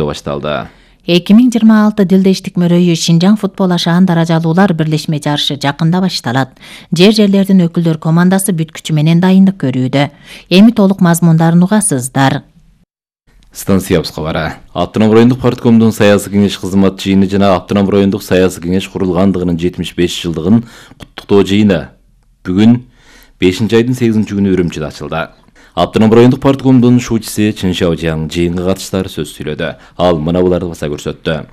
башталды. 2026 дилдештик мөрөйү Шинжаң футбол ашаан даражалуулар бирлешме жарышы жакында башталат. Жер-жерлердин өкүлдөр командасы бүт күчү менен дайындык көрүүдө. Эми толук мазмундарын угасыздар. Станция кабары. Автоном райондук парткомдун саясий кеңеш кызмат жыйыны жана автоном райондук саясий кеңеш курулгандыгынын 75 жылдыгын куттуктоо жыйыны бүгүн 5-айдын 8-күнү Үрүмчүдө ачылды. Автоном райондук парткомдун шуучусу Чын Шаожаң жыйынга катыштар сөз сүйлөдү. Ал мына буларды баса көрсөттү.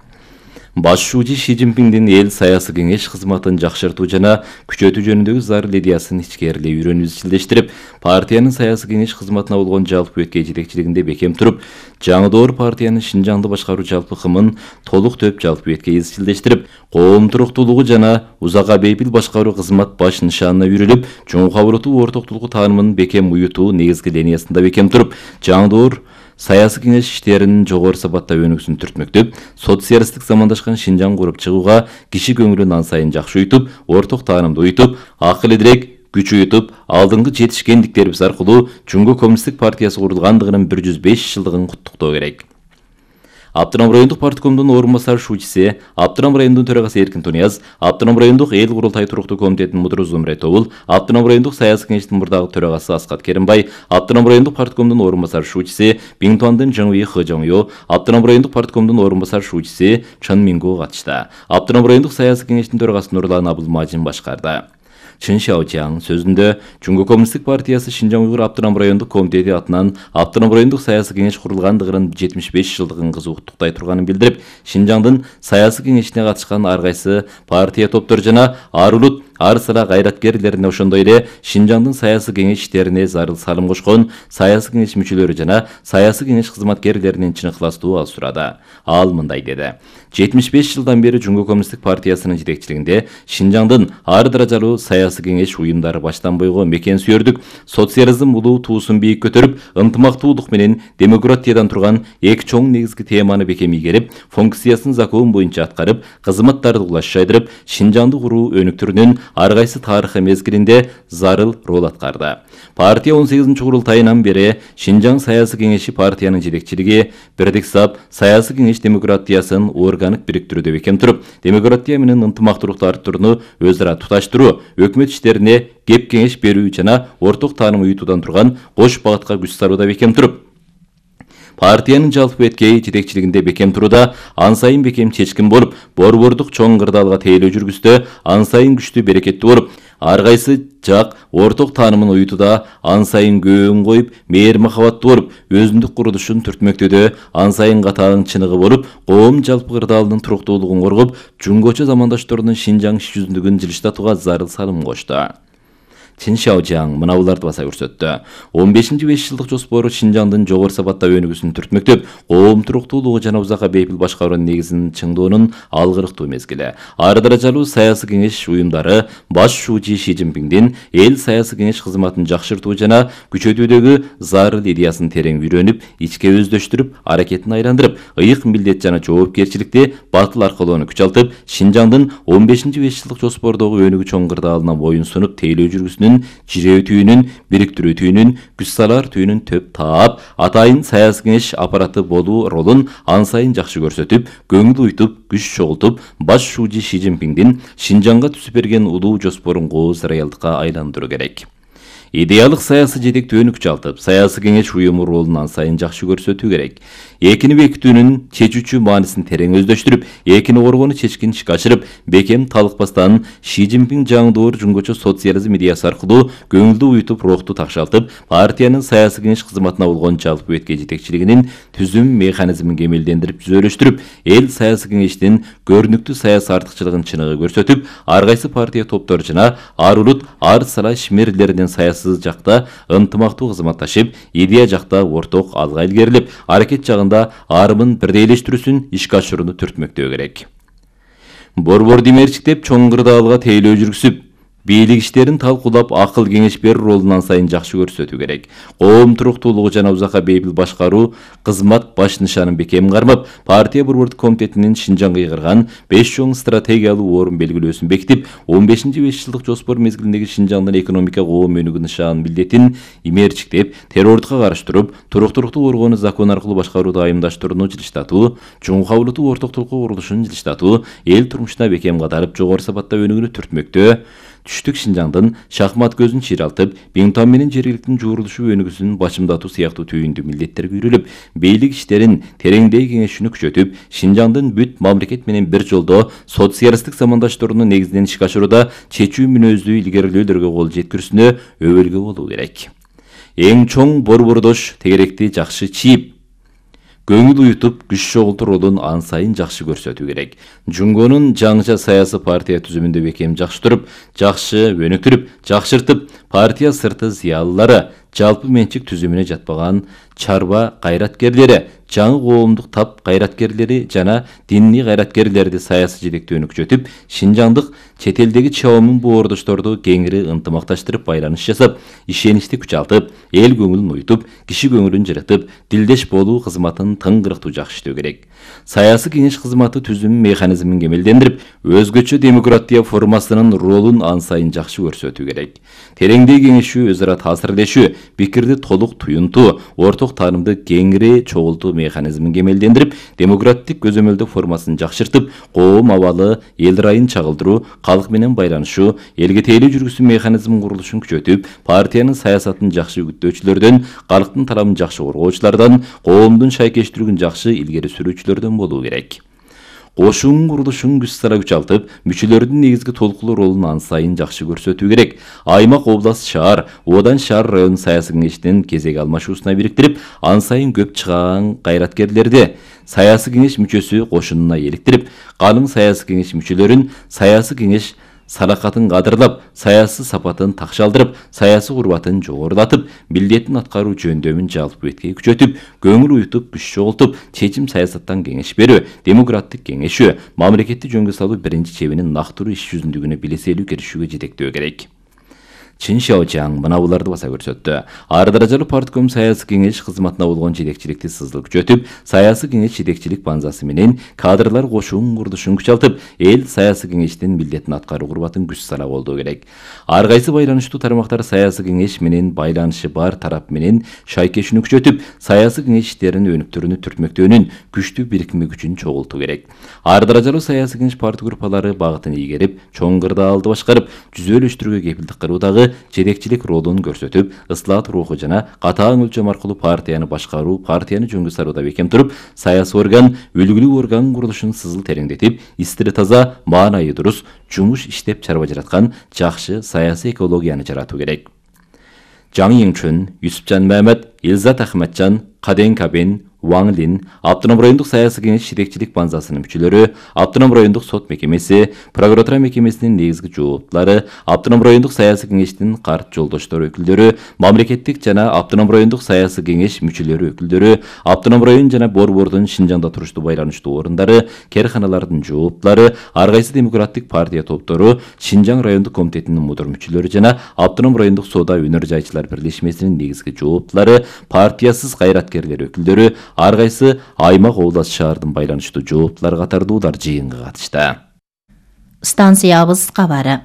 Баш шуучу Ши Цзиньпиндин эл саясий кеңеш кызматын жакшыртуу жана күчөтүү жөнүндөгү зарыл идеясын ичкерилей үйрөнүп изчилдештирип, партиянын саясий кеңеш кызматына болгон жалпы өткөй жетекчилигинде бекем туруп, жаңы доор партиянын Шинжаңды башкаруу жалпы кымын толук төп жалпы өткөй изчилдештирип, коом туруктуулугу жана узакка бейпил башкаруу кызмат баш нишанына үйрүлүп, чоң кабыртуу ортоктулугу таанымын бекем уютуу негизги линиясында бекем туруп, жаңы доор саясий кеңеш иштеринин жогору сапатта өнүгүүсүн түртмөктөп, социалисттик замандашкан Шинжаң куруп чыгууга киши көңүлүн ан сайын жакшы уютуп, орток таанымды уютуп, акыл идирек күч уютуп, алдыңкы жетишкендиктерибиз аркылуу Жумгу коммунисттик партиясы курулгандыгынын 105 жылдыгын куттуктоо керек. Автоном райондук парткомдун орун басар шуучусу, Автоном райондун төрагасы Эркин Тунияз, Автоном райондук эл курултай туруктуу комитетинин мудуру Зумре Тобул, Автоном райондук саясий кеңештин мурдагы төрагасы Аскат Керимбай, Автоном райондук парткомдун орун басар шуучусу Биңтуандын Жаңуи Хыжоңё, Автоном райондук парткомдун орун басар шуучусу Чын Минго катышты. Автоном райондук саясий кеңештин төрагасы Нурлан Абылмажин башкарды. Чын Шаожаң сөзүндө Жумгу коммунисттик партиясы Шинжаң уйгур автоном райондук комитети атынан автоном райондук саясий кеңеш курулгандыгынын 75 жылдыгын кызуу куттуктай турганын билдирип, Шинжаңдын саясий кеңешине катышкан ар кайсы партия топтору жана ар улут ар сыра кайраткерлерине ошондой эле Шинжаңдын саясий кеңеш иштерине зарыл салым кошкон саясий кеңеш мүчөлөрү жана саясий кеңеш кызматкерлеринин чын ыхластуу алып сурады. Ал мындай деди. 75 жылдан бери Жумгу коммунисттик партиясынын жетекчилигинде Шинжаңдын ар даражалуу саясий кеңеш уюмдары баштан бойго мекен сүйөрдүк, социализм улуу туусун бийик көтөрүп, ынтымактуулук менен демократиядан турган эки чоң негизги теманы бекем ийгерип, функциясын закон боюнча аткарып, кызматтарды улаш жайдырып, Шинжаңды куруу өнүктүрүүнүн ар кайсы тарыхый мезгилинде зарыл роль аткарды. Партия 18-курултайынан бери Шинжаң саясий кеңеши партиянын жетекчилиги бирдик сап саясий кеңеш демократиясын органик бириктирүүдө бекем туруп, демократия менен ынтымактуулукту арттырууну өз ара туташтыруу, өкмөт иштерине кеп кеңеш берүү жана орток тааным уютуудан турган кош багытка күч салууда бекем туруп, партиянын жалпы өткөй жетекчилигинде бекем турууда ан сайын бекем чечкин болуп, борбордук чоң кырдаалга тейлөө жүргүздө ан сайын күчтүү берекеттүү болуп, ар кайсы жак орток таанымын уютууда ан сайын көөн коюп, мээр махабаттуу болуп, өзүндүк курулушун түртмөктөөдө ан сайын катаң чыныгы болуп, коом жалпы кырдаалынын туруктуулугун коргоп, жумгочу замандашторунун Шинжаң иш жүзүндүгүн жылыштатууга зарыл салым кошту. Чын Шаожаң мына буларды баса көрсөттү. 15-5 жылдык жоспору Шинжаңдын жогору сапатта өнүгүүсүн түртмөктөп, коом туруктуулугу жана узакка бейпил башкаруунун негизин чыңдоонун алгырыктуу мезгили. Ар даражалуу саясий кеңеш уюмдары баш шуучу Ши Цзиньпиндин эл саясий кеңеш кызматын жакшыртуу жана күчөтүүдөгү зарыл идеясын терең үйрөнүп, ичке өздөштүрүп, аракетин айландырып, ыйык милдет жана жоопкерчиликти батыл аркалоону күч алтып, Шинжаңдын 15-5 жылдык жоспордогу өнүгүү чоң кырдаалына боюн сунуп, тейлөө жүргүсүнүн жирөөтүүнүн, бириктирүүтүүнүн, күч салар түйүнүн төп таап, атайын саясий кеңеш аппараты болуу ролун ан сайын жакшы көрсөтүп, көңүл уйтуп, күч чогултуп, баш шуучу Ши Цзиньпиндин Шинжаңга түзүп берген улуу жоспорун кооз реалдыкка айландыруу керек. Идеалык саясий жетектөөнү күч алтып, саясий кеңеш уюму ролун ан сайын жакшы көрсөтүү керек. Экини бекитүүнүн чечүүчү маанисин терең өздөштүрүп, экини коргоону чечкин ишке ашырып, бекем талыкпастан Ши Цзиньпин жаңы доор жумгочу социализм идеясы аркылуу көңүлдү уютуп, рухту такшалтып, партиянын саясий кеңеш кызматына болгон жалпы өткөй жетекчилигинин түзүм механизмин кемелдендирип, түзөлүштүрүп, эл саясий кеңештин көрүнүктүү саясий артыкчылыгын чыныгы көрсөтүп, ар кайсы партия топтору жана ар улут ар сала ишмерлеринин саясий жакта ынтымактуу кызматташып, идея жакта орток алга илгерилип, аракет жагында арымын бирдейлештирүүсүн ишке ашырууну түртмөктөө керек. Борбор демерчиктеп чоң кырдаалга тейлөө жүргүзүп, бийлик иштерин талкуулап акыл кеңеш берүү ролун сайын жакшы көрсөтүү керек. Коом туруктуулугу жана узакка бейпил башкаруу кызмат баш нышанын бекем кармап, партия борбордук комитетинин Шинжаңга ыйгарган 5 чоң стратегиялуу орун белгилөөсүн бекитип, 15-5 жылдык жоспор мезгилиндеги Шинжаңдын экономика коом өнүгүү нышанын милдетин имээрчиктеп, террордукка каршы туруп, туруктуулукту коргоону закон аркылуу башкарууду айымдаштырууну жылыштатуу, чоң кабылдуу орток толку курулушун жылыштатуу, эл турмушуна бекем катарып жогору сапатта өнүгүүнү түртмөктө, түштүк Шинжаңдын шахмат көзүн чыйралтып, Биңтан менен жергиликтин жуурулушу өнүгүүсүн бачымдатуу сыяктуу түйүндүү милдеттер күйрөлүп, бийлик иштерин тереңдей кеңешүүнү күчөтүп, Шинжаңдын бүт мамлекет менен бир жолдо социалисттик замандаштырууну негизинен ишке ашырууда чечүү мүнөздүү илгерилөөлөргө кол жеткирүүсүнө өбөлгө болуу керек. Эң чоң борбордош тегеректи жакшы чийип, көңүл уютуп, күч чогултуу ролун ан сайын жакшы көрсөтүү керек. Жунгонун жаңыча саясий партия түзүмүндө бекем жакшы туруп, жакшы өнүктүрүп, жакшыртып, партия сырты зыялылары, жалпы менчик түзүмүнө жатпаган чарба кайраткерлери, жаңы коомдук тап кайраткерлери жана диний кайраткерлерди саясий жетектөөнү күчөтүп, Шинжаңдык чет элдеги чоомун боордошторду кеңири ынтымакташтырып, байланыш жасап, ишеничти күчалтып, эл көңүлүн уютуп, киши көңүлүн жырытып, дилдеш болуу кызматын тыңгырыктуу жакшы иштөө керек. Саясий кеңеш кызматы түзүм механизмин кемелдендирип, өзгөчө демократия формасынын ролун ан сайын жакшы көрсөтүү керек. Тереңдей кеңешүү, өз ара таасирлешүү, пикирди толук туюнтуу, орток таанымды кеңири чогултуу механизмин кемелдендирип, демократик көзөмөлдөө формасын жакшыртып, коом абалы, эл райын чагылдыруу, калк менен байланышуу, элге тейлөө жүргүзүү механизмин курулушун күчөтүп, партиянын саясатын жакшы үгүттөөчүлөрдөн, калктын талабын жакшы коргоочулардан, коомдун шайкештүүлүгүн жакшы илгери сүрүүчүлөрдөн болуу керек. Кошуун курулушун күч сара күчалтып, мүчөлөрдүн негизги толкулуу ролун ан сайын жакшы көрсөтүү керек. Аймак, област, шаар, одан шаар район саясий кеңештин кезек алмашуусуна бириктирип, ан сайын көп чыган кайраткерлерди саясий кеңеш мүчөсү кошунуна эликтирип, калың саясий кеңеш мүчөлөрүн саясий кеңеш салакатын кадырлап, саясий сапатын такшалдырып, саясий курбатын жогорулатып, милдетин аткаруу жөндөмүн жалпы бетке күчөтүп, көңүл уютуп, күч чогултуп, чечим саясаттан кеңеш берүү, демократик кеңешүү, мамлекетти жөнгө салуу биринчи чебинин нактыруу иш жүзүндүгүнө билеселүү киришүүгө жетектөө керек. Чин Шаочаң мына буларды баса көрсөттү. Ар даражалуу партком саясий кеңеш кызматына болгон жетекчиликти сызыл күчөтүп, саясий кеңеш жетекчилик банзасы менен кадрлар кошуун курулушун күчалтып, эл саясий кеңештин милдетин аткаруу курбатын күч сара болдуу керек. Ар кайсы байланыштуу тармактар саясий кеңеш менен байланышы бар тарап менен шайкешүүнү күчөтүп, саясий кеңеш иштерин өнүктүрүүнү түртмөктөөнүн күчтүү бирикме күчүн чогултуу керек. Ар даражалуу саясий кеңеш парт группалары багытын ийгерип, чоң кырдаалды башкарып, жүзөлөштүрүүгө кепилдик кылуудагы жетекчилик ролун көрсөтүп, ыслаат руху жана катаң өлчөм аркылуу партияны башкаруу, партияны жөнгө сарууда бекем туруп, саясий орган, үлгүлүү орган курулушун сызыл тереңдетип, истири таза, маанайы дурус жумуш иштеп чарба жараткан жакшы саясий экологияны жаратуу керек. Жаң Еңчүн, Юсупжан Мамед, Илзат Ахматжан, Каден Кабен, Ваң Лин, Автоном райондук саясий кеңеш жетекчилик банзасынын мүчөлөрү, Автоном райондук сот мекемеси, прокуратура мекемесинин негизги жооптулары, Автоном райондук саясий кеңештин карт жолдоштор өкүлдөрү, мамлекеттик жана Автоном райондук саясий кеңеш мүчөлөрү өкүлдөрү, Автоном район жана борбордун Шинжаңда туруштуу байланыштуу орундары, керканалардын жооптулары, ар кайсы демократик партия топтору, Шинжаң райондук комитетинин мудур мүчөлөрү жана Автоном райондук соода өнөр жайчылар бирлешмесинин негизги жооптулары, партиясыз кайраткерлер өкүлдөрү, ар кайсы аймак, област, шаардын байланыштуу жооптулары катардуулар жыйынга катышты. Станциябыз кабары.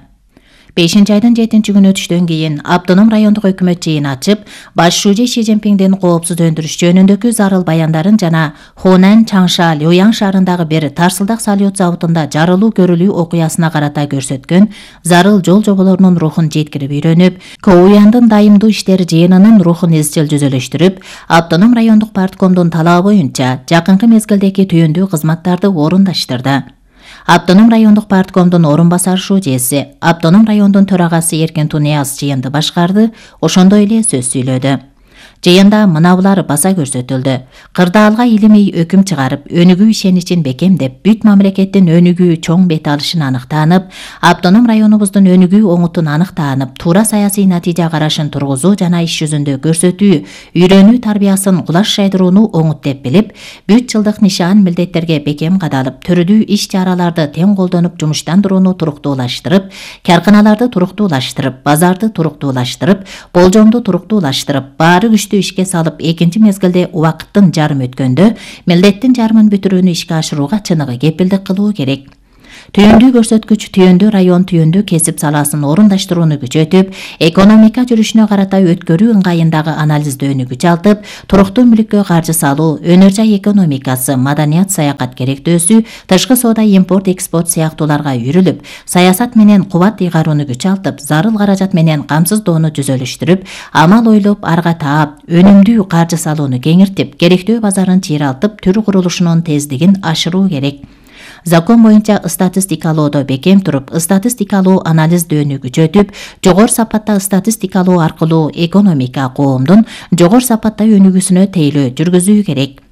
5-айдын 7-күнү өтүштөн кийин Автоном райондук өкмөт жыйын ачып, баш шууже Ши Цзиньпиңдин коопсуз өндүрүш жөнүндөгү зарыл баяндарын жана Хонан, Чаңша, Люяң шаарындагы бир тарсылдак салют заводунда жарылуу көрүлүү окуясына карата көрсөткөн зарыл жол жоболорунун рухун жеткирип үйрөнүп, КОУЯндын дайымдуу иштер жыйынынын рухун изчил жүзөлөштүрүп, Автоном райондук парткомдун талабы боюнча жакынкы мезгилдеги түйүндүү кызматтарды орундаштырды. Автоном райондук парткомдун орун басар шужеси, Автоном райондун төрагасы Эркен Тунияз жыйынды башкарды, ошондой эле сөз сүйлөдү. Жыйында мынабулар баса көрсөтүлдү. Кырдаалга илимий өкүм чыгарып, өнүгүү ишеничин бекемдеп, бүт мамлекеттин өнүгүү чоң бет алышын аныктанып, автоном районубуздун өнүгүү оңутун аныктанып, туура саясий натыйжа карашын тургузуу жана иш жүзүндө көрсөтүү, үйрөнүү тарбиясын кулаш жайдырууну оңут деп билип, бүт жылдык нишан милдеттерге бекем кадалып, төрүдүү иш-чараларды тең колдонуп жумуштандырууну туруктуулаштырып, карканаларды туруктуулаштырып, базарды туруктуулаштырып, болжомду туруктуулаштырып, баары күчтү ишке салып, экинчи мезгилде убакыттын жарым өткөндө милдеттин жарымын бүтүрүүнү ишке ашырууга чыныгы кепилдик кылуу керек. Түйүндүү көрсөткүч түйүндүү район түйүндүү кесип саласын орундаштырууну күчөтүп, экономика жүрүшүнө карата өткөрүү ыңгайындагы анализдөөнү күчалтып, туруктуу мүлүккө каржы салуу, өнөр жай экономикасы, маданият, саякат керектөөсү, тышкы соода, импорт, экспорт сыяктууларга үйрүлүп, саясат менен кубат ыйгарууну күчалтып, зарыл каражат менен камсыздоону жүзөлүштүрүп, амал ойлоп, арга таап, өнүмдүү каржы салууну кеңиртип, керектөө базарын чыйралтып, төр курулушунун тездигин ашыруу керек. Закон боюнча статистикалоодо бекем туруп, статистикалуу анализдөөнү күчөтүп, жогору сапатта статистикалоо аркылуу экономика коомдун жогору сапатта өнүгүүсүнө тейлөө жүргүзүү керек.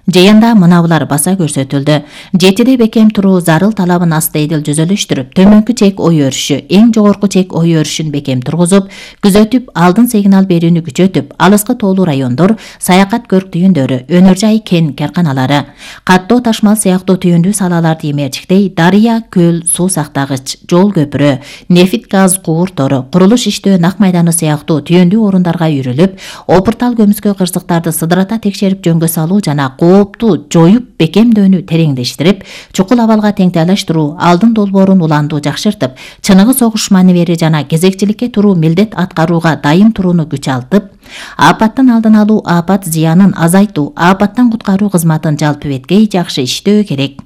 Жыйында мынабулар баса көрсөтүлдү. 7 бекем туруу зарыл талабын астайдыл жүзөлүштүрүп, төмөнкү чек ой өрүшү, эң жогорку чек ой өрүшүн бекем тургузуп, күзөтүп, алдын сигнал берүүнү күчөтүп, алыскы тоолуу райондор, саякат көрк түйүндөрү, өнөр жай кен карканалары, каттоо ташмал сыяктуу түйүндүү салаларды эмерчиктей, дарыя, көл, суу сактагыч, жол көпүрө, нефит газ кууртору, курулуш иштөө нак майданы сыяктуу түйүндүү орундарга үйрүлүп, опуртал көмүскө кырсыктарды сыдырата текшерип жөнгө салуу жана коопту жоюп бекемдөөнү тереңдештирип, чукул абалга теңтайлаштыруу, алдын долбоорун уланду жакшыртып, чыныгы согуш маневери жана кезекчиликке туруу милдет аткарууга дайым турууну күчалтып, апаттын алдын алуу, апат зыянын азайтуу, апаттан куткаруу кызматын жалпы беткей жакшы иштөө керек.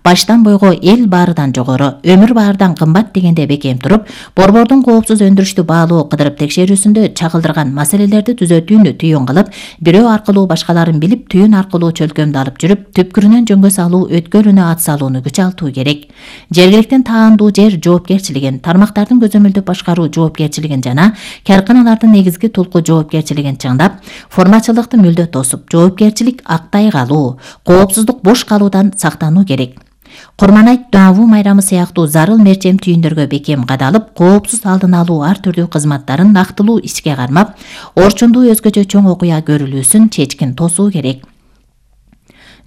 Баштан бойго эл баарыдан жогору, өмүр баарыдан кымбат дегенде бекем туруп, борбордун коопсуз өндүрүштү баалоо кыдырып текшерүүсүндө чагылдырган маселелерди түзөтүүнү түйүн кылып, бирөө аркылуу башкаларын билип, түйүн аркылуу чөлкөмдү алып жүрүп, түпкүрүнөн жөнгө салуу, өткөлүнө ат салууну күчалтуу керек. Жергиликтин таандуу жер жоопкерчилигин, тармактардын көзөмөлдүп башкаруу жоопкерчилигин жана карканалардын негизги тулку жоопкерчилигин чыңдап, формачылыкты мүлдө тосуп, жоопкерчилик актай калуу, коопсуздук бош калуудан сактануу керек. Курманайт, Дуавуу майрамы сыяктуу зарыл мерчем түйүндөргө бекем кадалып, коопсуз алдын алуу ар түрдүү кызматтарын нактылуу ишке кармап, орчундуу өзгөчө чоң окуя көрүлүүсүн чечкин тосуу керек.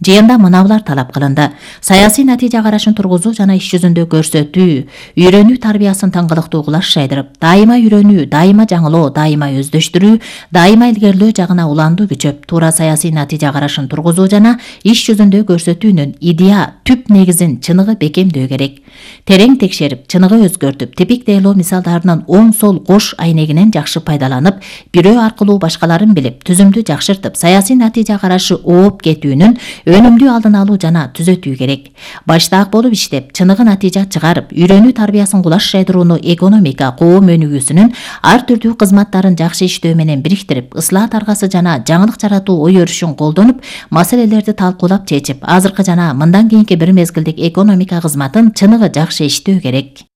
Жыйында мынабулар талап кылынды. Саясий натыйжа карашын тургузуу жана иш жүзүндө көрсөтүү, үйрөнүү тарбиясын таңгылыктуу кулаш жайдырып, дайыма үйрөнүү, дайыма жаңылоо, дайыма өздөштүрүү, дайыма илгерилөө жагына уланду күчөп, туура саясий натыйжа карашын тургузуу жана иш жүзүндө көрсөтүүнүн идея, түп негизин чыныгы бекемдөө керек. Терең текшерип, чыныгы өзгөртүп, типик дейлоо мисалдарынын оң сол кош айнегинен жакшы пайдаланып, бирөө аркылуу башкаларын билип, түзүмдү жакшыртып, саясий натыйжа карашы ооп кетүүнүн өнүмдүү алдын алуу жана түзөтүү керек. Баштаак болуп иштеп, чыныгы натыйжа чыгарып, үйрөнүү тарбиясын кулаш жайдырууну экономика, коом өнүгүүсүнүн ар түрдүү кызматтарын жакшы иштөө менен бириктирип, ыслаат аргасы жана жаңылык жаратуу ой өрүшүн колдонуп, маселелерди талкуулап чечип, азыркы жана мындан кийинки бир мезгилдик экономика кызматын чыныгы жакшы иштөө керек.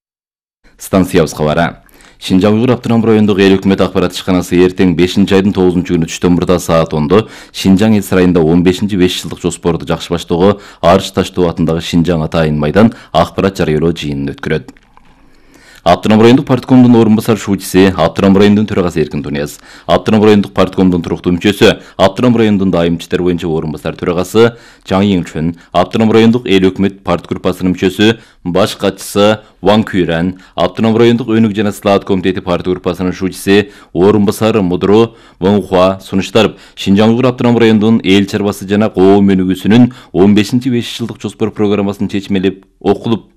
Станциябыз кабары. Шинжаң Уйгур автоном райондук эл өкмөт акбарат ишканасы эртең 5-айдын 9-күнү түштөн мурда саат 10-до Шинжаң эл сарайында 15-5 жылдык жоспорду жакшы баштоого Арыш Таштоо атындагы Шинжаң атайын майдан акбарат жарыялоо жыйынын өткөрөт. Автоном райондук парткомдун орун басар шуучиси, Автоном райондун төрагасы Эркин Тунияз, Автоном райондук парткомдун туруктуу мүчөсү, Автоном райондун дайым иштер боюнча орун басар төрагасы Жаңы Еңчүн, Автоном райондук эл өкмөт парт группасынын мүчөсү, баш катчысы Ван Күйран, Автоном райондук өнүк жана сылаат комитети парт группасынын шуучиси, орун басары мудру Ван Хуа сунуштарып, Шинжаң Уйгур автоном райондун эл чарбасы жана коом өнүгүүсүнүн 15-5 жылдык жоспор программасын чечмелеп окулуп,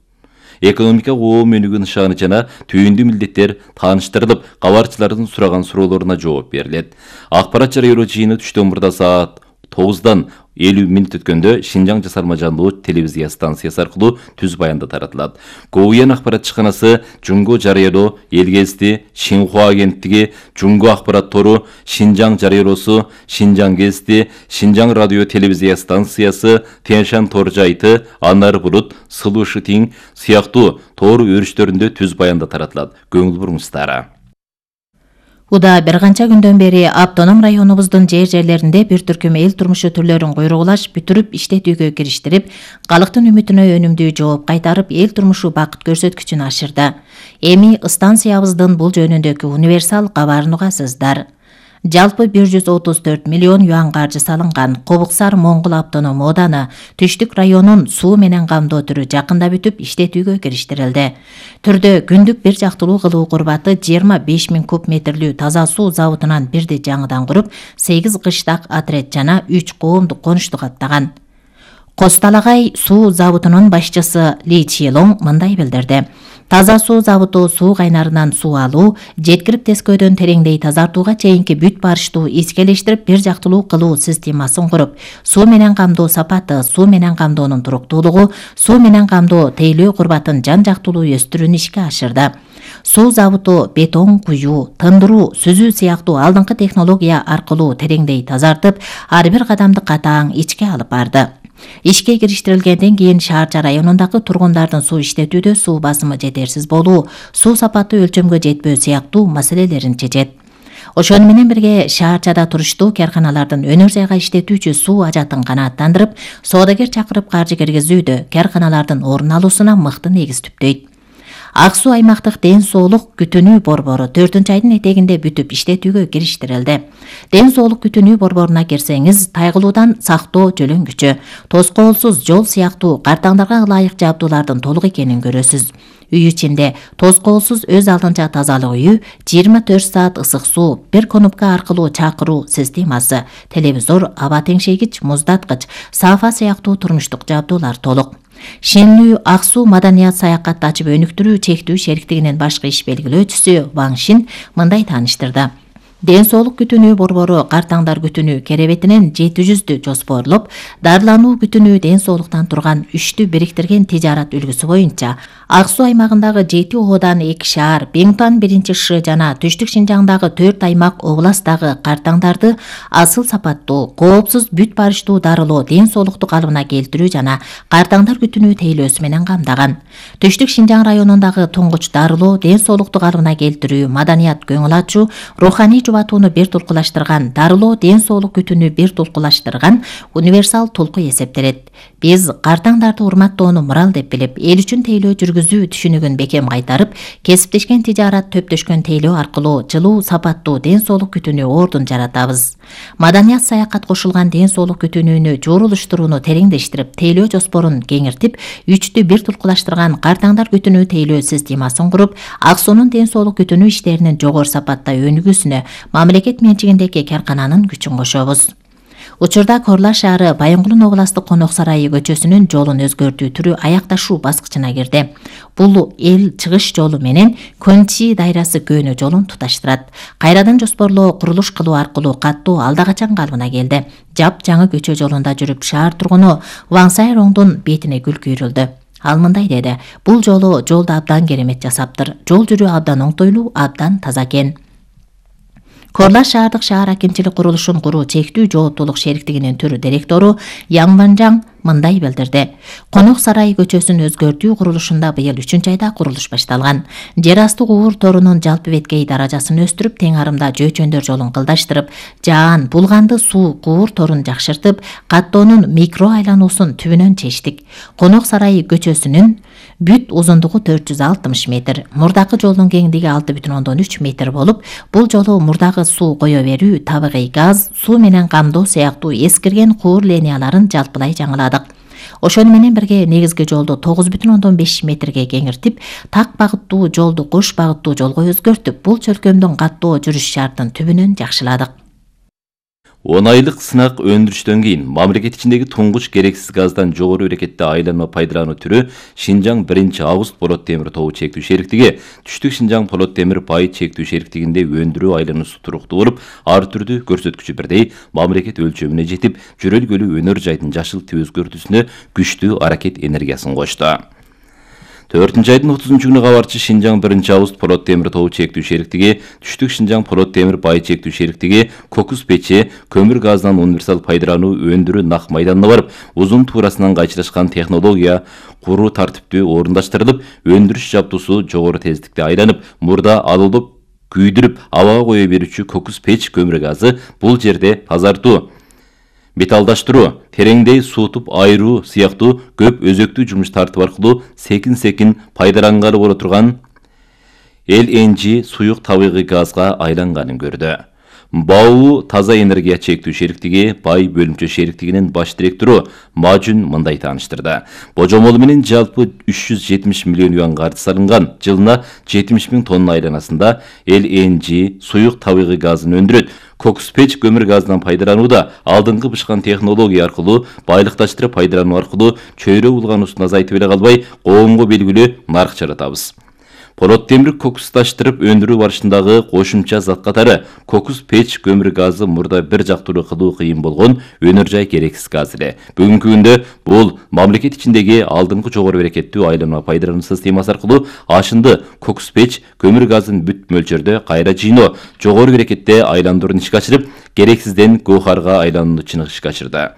экономика коом өнүгүү нышаны жана түйүндүү милдеттер тааныштырылып, кабарчылардын сураган суроолоруна жооп берилет. Акбарат жарыялоо жыйыны түштөн мурда саат 9-дан 50 минут өткөндө Шинжаң жасалма жандуу телевизия станциясы аркылуу түз баянда таратылат. Гоуян акбарат ишканасы, Жунго жарыялоо, Элгезди, Шинхуа агенттиги, Жунго акбарат тору, Шинжаң жарыялоосу, Шинжаң гезити, Шинжаң радио телевизия станциясы, Тяньшан тор жайты, Анар Булут, Сылуу Шытиң сыяктуу тор өрүштөрүндө түз баянда таратылат. Көңүл буруңуздар. Уда бир канча күндөн бери автоном районубуздун жерлеринде бир түркүм эл турмушу түрлөрүн куйругулаш бүтүрүп иштетүүгө кириштирип, калктын үмүтүнө өнүмдүү жооп кайтарып, эл турмушу бакыт көрсөткүчүн ашырды. Эми станциябыздын бул жөнүндөгү универсал кабарын угасыздар. Жалпы 134 миллион юан каржы салынган Кобуксар Моңгул автоном ооданы түштүк районун суу менен камдоо түрү жакында бүтүп иштетүүгө кириштирилди. Түрдө күндүк бир жактылуу кылуу курбаты 25 000 куб метрлүү таза суу заводунан бирди жаңыдан куруп, 8 кыштак отряд жана 3 коомдук конушту каттаган. Косталагай суу заводунун башчысы Ли Чилоң мындай билдирди. Таза суу заводу суу кайнарынан суу алуу, жеткирип тескөөдөн тереңдей тазартууга чейинки бүт барыштуу искелештирип бир жактылуу кылуу системасын куруп, суу менен камдоо сапаты, суу менен камдоонун туруктуулугу, суу менен камдоо тейлөө курбатын жан жактылуу өстүрүүнү ишке ашырды. Суу заводу бетон куюу, тындыруу, сүзүү сыяктуу алдыңкы технология аркылуу тереңдей тазартып, ар бир кадамды катаң ичке алып барды. Ишке кириштирилгенден кийин шаарча районундагы тургундардын суу иштетүүдө суу басымы жетерсиз болуу, суу сапаты өлчөмгө жетпөө сыяктуу маселелерин чечет. Ошону менен бирге шаарчада туруштуу карканалардын өнөр жайга иштетүүчү суу ажатын канааттандырып, соодагер чакырып каржы киргизүүдө карканалардын орун алуусуна мыкты негиз түптөйт. Ак суу аймактык ден соолук күтүнүү борбору 4-айдын этегинде бүтүп иштетүүгө кириштирилди. Ден соолук күтүнүү борборуна кирсеңиз, тайгылуудан сактоо жөлөңгүчө, тоскоолсуз жол сыяктуу картаңдарга ылайык жабдуулардын толук экенин көрөсүз. Үй ичинде тоскоолсуз өз алдынча тазалык үйү, 24 саат ысык суу, бир кнопка аркылуу чакыруу системасы, телевизор, аба теңшейгич, муздаткыч, саафа сыяктуу турмуштук жабдуулар толук. Шенлүү Ак суу маданият саякатты ачып өнүктүрүү чектүү шериктигинин башкы иш белгилөөчүсү Ван Шин мындай тааныштырды. Ден соолук күтүнүү борбору картаңдар күтүнүү керебетинен 700дү жоспорлоп, дарылануу күтүнүү ден соолуктан турган 3тү бириктирген тижарат үлгүсү боюнча Ак суу аймагындагы 7 оодан 2 шаар, Беңтан 1-Ш жана Түштүк Шинжаңдагы 4 аймак областагы картаңдарды асыл сапаттуу, коопсуз бүт барыштуу дарылоо, ден соолукту калыбына келтирүү жана картаңдар күтүнүү тейлөөсү менен камдаган. Түштүк Шинжаң районундагы туңгуч дарылоо, ден соолукту калыбына келтирүү, маданият көңүл ачуу, руханий жубатууну бир тулкулаштырган, дарылоо, ден соолук күтүүнү бир тулкулаштырган универсал толку эсептелет. Биз картаңдарды урматтоону мурал деп билип, эл үчүн тейлөө жүргүзүү түшүнүгүн бекем кайтарып, кесиптешкен тижарат төптөшкөн тейлөө аркылуу жылуу, сапаттуу ден соолук күтүүнү ордун жаратабыз. Маданият саякат кошулган ден соолук күтүүнү жоорулуштурууну тереңдештирип, тейлөө жоспорун кеңиртип, 3тү бир тулкулаштырган картаңдар күтүүнү тейлөө системасын куруп, Ак суунун ден соолук күтүүнү иштеринин жогору сапатта өнүгүүсүнө мамлекет менчигиндеги каркананын күчүн кошобуз. Учурда Корла шаары Байынгулун областык Конок сарайы көчөсүнүн жолун өзгөртүү түрү аякташуу баскычына кирди. Бул эл чыгыш жолу менен Көнчи дайрасы көөнө жолун туташтырат. Кайрадан жоспорлоо, курулуш кылуу аркылуу каттоо алда качан калыбына келди. Жап жаңы көчө жолунда жүрүп шаар тургуну Ван Сайроңдун бетине гүл күйрүлдү. Ал мындай деди: "Бул жолу жолду абдан керемет жасаптыр. Жол жүрүү абдан оңтойлуу, абдан таза экен." Корла шаардык шаар акимчилик курулушун куруу чектүү жооптуулук шериктигинин түрү директору Яң Ванжаң мындай билдирди. Конок сарайы көчөсүн өзгөртүү курулушунда быйыл 3-айда курулуш башталган. Жер асты куур торунун жалпы беткей даражасын өстүрүп, тең арымда жөө-чөндөр жолун кылдаштырып, жаан, булганды суу куур торун жакшыртып, каттоонун микро айлануусун түбүнөн чечтик. Конок сарайы көчөсүнүн бүт узундугу 460 метр, мурдакы жолдун кеңдиги 6,3 метр болуп, бул жолу мурдагы суу кое берүү, табигый газ, суу менен камдоо сыяктуу эскирген куур линияларын жалпылай жаңыладык. Ошону менен бирге негизги жолду 9,5 метрге кеңиртип, так багыттуу жолду кош багыттуу жолго өзгөртүп, бул чөлкөмдүн каттоо жүрүш шартын түбүнөн жакшыладык. 10 айлык сынак өндүрүштөн кийин мамлекет ичиндеги туңгуч керексиз газдан жогору берекетте айланма пайдалануу түрү Шинжаң 1-Август Полот темир тобу чектүү шериктиги, Түштүк Шинжаң Полот темир бай чектүү шериктигинде өндүрүү айлануусу туруктуу болуп, ар түрдүү көрсөткүчү бирдей мамлекет өлчөмүнө жетип, жөрөлгөлүү өнөр жайдын жашыл өзгөртүүсүнө күчтүү аракет энергиясын кошту. 4-айдын 30-күнү кабарчы Шинжаң 1-Август Полот темир тобу чектүү шериктиги, Түштүк Шинжаң Полот темир бай чектүү шериктиги кокус печи, көмүр газдан универсал пайдалануу өндүрүү нак майданына барып, узун туурасынан кайчылашкан технология куруу тартиптүү орундаштырылып, өндүрүш жабдуусу жогору тездикте айланып, мурда алылып күйдүрүп абага кое берүүчү кокус печ көмүр газы бул жерде тазартуу, металлдаштыруу, тереңдей суутуп айыруу сыяктуу көп өзөктүү жумуш тартып аркылуу секин пайдалангалы боло турган LNG суюк табигый газга айланганын көрдү. БАУ таза энергия чектүү шериктиги бай бөлүмчө шериктигинин баш директору Мажун мындай тааныштырды. Божомол менен жалпы 370 миллион юан каржы салынган, жылына 70 миң тонна айланасында LNG суюк табигый газын өндүрөт. Кокус печ көмүр газынан пайдаланууда алдыңкы бышкан технология аркылуу байлыкташтырып пайдалануу аркылуу чөйрө булгануусун азайтып эле калбай, коомго белгилүү нарк жаратабыз. Порот темир кокусташтырып өндүрүү барышындагы кошумча зат катары кокус печ көмүр газы мурда бир жактуу кылуу кыйын болгон өнөр жай керексиз газ эле. Бүгүнкү күндө бул мамлекет ичиндеги алдыңкы жогору берекеттүү айланма пайдалануу системасы аркылуу ашынды кокус печ көмүр газын бүт мөлчөрдө кайра жыйноо, жогору берекетте айландыруун ишке ашырып, керексизден гоохарга айланууну чыныгы ишке ашырды.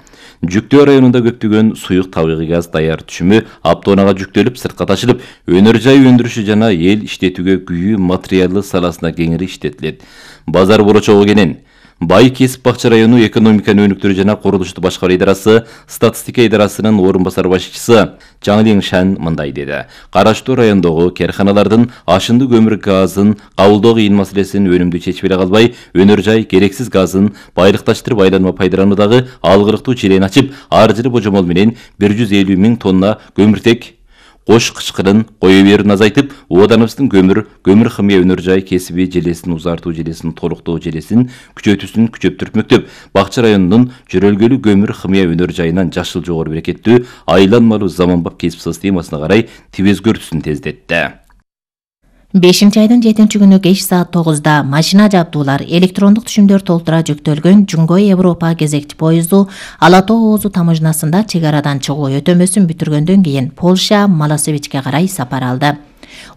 Жүктөө районунда көптөгөн суюк табигый газ даяр түшүмү автоунаага жүктөлүп, сыртка ташылып, өнөр жай өндүрүшү жана эл иштетүүгө күйүү материалы саласына кеңири иштетилет. Базар борочогу кенен Бай Кесип Бакча району экономиканы өнүктүрүү жана курулушту башкаруу идарасы статистика идарасынын орун басар башчысы Жаңлин Шан мындай деди. Караштуу райондогу карканалардын ашынды көмүр газын кабылдоо кыйын маселесин өнүмдүү чечип эле калбай, өнөр жай керексиз газын байлыкташтырып айланма пайдалануудагы алгырыктуу чирени ачып, ар жылы божомол менен 150 миң тонна көмүртек кош кычкырын кое берүүнү азайтып, ооданыбыздын көмүр химия өнөр жай кесиби желесин узартуу желесин толуктоо желесин күчөтүүсүн күчөптүрмөктөп, Бакча районунун жөрөлгөлүү көмүр химия өнөр жайынан жашыл жогору берекеттүү айланмалуу заманбап кесип системасына карай өзгөртүүсүн тездетти. 5-айдын 7-күнү кеч саат 9-да машина жабдуулар электрондук түшүмдөр толтура жүктөлгөн Жунгой Европа кезекчи поезду Ала Тоо Оозу тамыжнасында чек арадан чыгуу өтөмөсүн бүтүргөндөн кийин Полша Маласевичке карай сапар алды.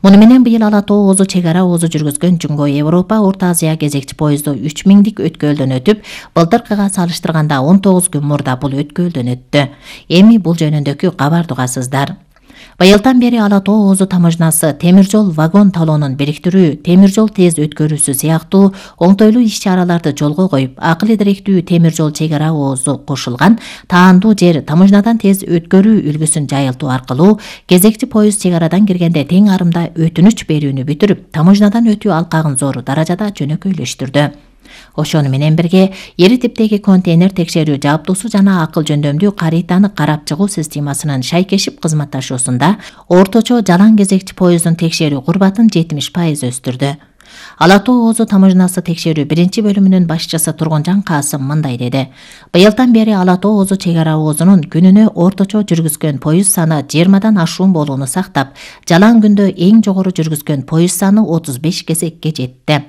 Муну менен быйыл Ала Тоо Оозу чек ара оозу жүргүзгөн Жунгой Европа Орто Азия кезекчи поезду 3000 өткөлдөн өтүп, былтыркыга салыштырганда 19 күн мурда бул өткөлдөн өттү. Эми бул жөнүндөгү кабарды угасыздар. Быйылдан бери Ала Тоо Оозу тамыжнасы темир жол вагон талоонун бириктирүү, темир жол тез өткөрүүсү сыяктуу оңтойлуу иш-чараларды жолго коюп, акыл идиректүү темир жол чек ара оозу кошулган таандуу жер тамыжнадан тез өткөрүү үлгүсүн жайылтуу аркылуу кезекчи поезд чек арадан киргенде тең арымда өтүнүч берүүнү бүтүрүп, тамыжнадан өтүү алкагын зор даражада жөнөкөйлөштүрдү. Ошону менен бирге ири типтеги контейнер текшерүү жабдуусу жана акыл жөндөмдүү каританы карап чыгуу системасынын шайкешип кызматташуусунда орточо жалаң кезекчи поезддун текшерүү курбатын 70% өстүрдү. Ала Тоо Оозу тамыжнасы текшерүү 1-бөлүмүнүн башчысы Тургунжан Касым мындай деди. Быйылдан бери Ала Тоо Оозу чек ара оозунун күнүнө орточо жүргүзгөн поезд саны 20дан ашуун болууну сактап, жалаң күндө эң жогору жүргүзгөн поезд саны 35 кезекке жетти.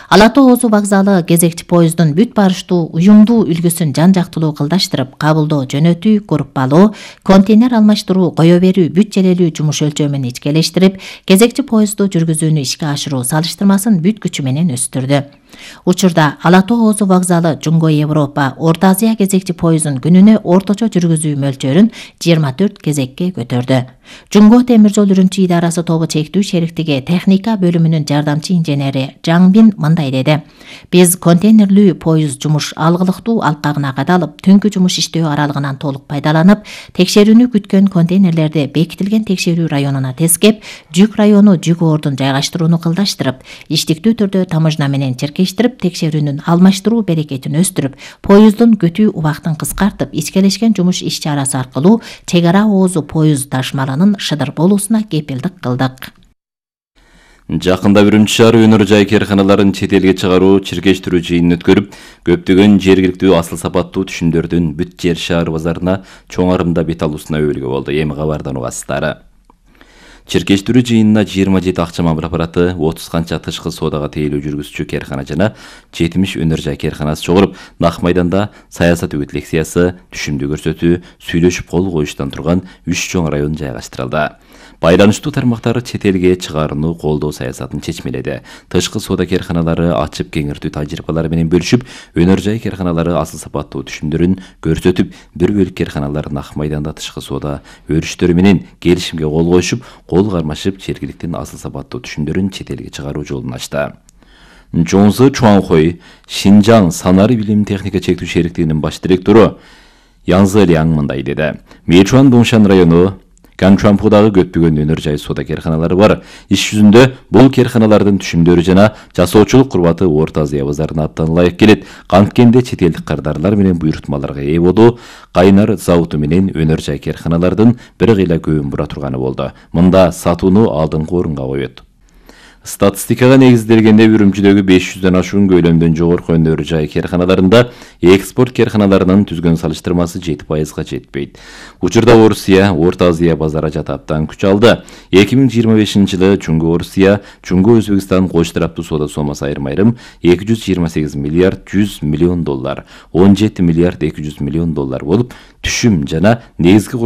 Ала Тоо Оозу вокзалы кезекчи поезддун бүт барыштуу уюмдуу үлгүсүн жан-жактылуу кылдаштырып, кабылдоо жөнөтүү, группалоо, контейнер алмаштыруу, кое берүү, бүт желелүү жумуш өлчөмүн ичкелештирип, кезекчи поездду жүргүзүүнү ишке ашыруу салыштырмасын бүт күчү менен өстүрдү. Учурда Ала Тоо Оозу вокзалы Жунгой Европа Орто Азия кезекчи поезддун күнүнө орточо жүргүзүү мөлчөрүн 24 кезекке көтөрдү. Жунго темир жол үрүмчи идарасы тобу чектүү шериктиги техника бөлүмүнүн жардамчы инженери Жаңбин мындай деди. Биз контейнерлүү поезд жумуш алгылыктуу алкагына кадалып, түнкү жумуш иштөө аралыгынан толук пайдаланып, текшерүүнү күткөн контейнерлерди бекитилген текшерүү районуна тескеп, жүк району жүк ордун жайгаштырууну кылдаштырып, иштиктүү түрдө тамыжна менен чиркештирип, текшерүүнүн алмаштыруу берекетин өстүрүп, поезддун күтүү убактын кыскартып, ичкелешкен жумуш иш-чарасы аркылуу чек ара оозу поезд ташмалынын шыдыр болуусуна кепилдик кылдык. Жакында Үрүмчү шаары өнөр жай карканаларын чет элге чыгаруу, чиркештирүү жыйынын өткөрүп, көптөгөн жергиликтүү асыл сапаттуу түшүмдөрдүн бүт жер шаар базарына чоң арымда бет алуусуна өбөлгө болду. Эми кабардан угасыздар. Чиркештирүү жыйынына 27 акча мамыр аппараты, 30 канча тышкы соодага тейлөө жүргүзүүчү каркана жана 70 өнөр жай карканасы чогулуп, Нак майданда саясат үгүт лекциясы, түшүмдүү көрсөтүү, сүйлөшүп кол коюштан турган 3 чоң район жайгаштырылды. Байланыштуу тармактары чет элге чыгарууну колдоо саясатын чечмеледи. Тышкы соода карканалары ачып кеңиртүү тажрыйбалары менен бөлүшүп, өнөр жай карканалары асыл сапаттуу түшүмдөрүн көрсөтүп, бир бөлүк карканалар Нак майданда тышкы соода өрүштөрү менен келишимге кол коюшуп, кол кармашып, жергиликтин асыл сапаттуу түшүмдөрүн чет элге чыгаруу жолун ачты. Жонзы Чуанхой, Шинжаң санары билим техника чектүү шериктигинин баш директору Янзы Ляң мындай деди. Мэчуан Доңшан району Канчуанпудагы көптөгөн өнөр жай соода керканалары бар. Иш жүзүндө бул керканалардын түшүмдөрү жана жасоочулук курбаты Орто Азия базарына абдан ылайык келет. Канткенде чет элдик кардарлар менен буйрутмаларга ээ болду. Кайнар заводу менен өнөр жай керканалардын бир кыйла көбүн бура турганы болду. Мында сатууну алдыңкы орунга коет. Статистикага негизделгенде Үрүмчүдөгү 500дөн ашуун көйлөмдөн жогорку өнөр жай керканаларында экспорт керканаларынын түзгөн салыштырмасы 7%га жетпейт. Учурда Орусия, Орто Азия базары жатаптан күч алды. 2025-жылы Чуңгу Орусия, Чуңгу Өзбекстан кош тараптуу соода сомасы айрым-айрым 228 миллиард 100 миллион доллар, 17 миллиард 200 миллион доллар болуп, түшүм жана негизги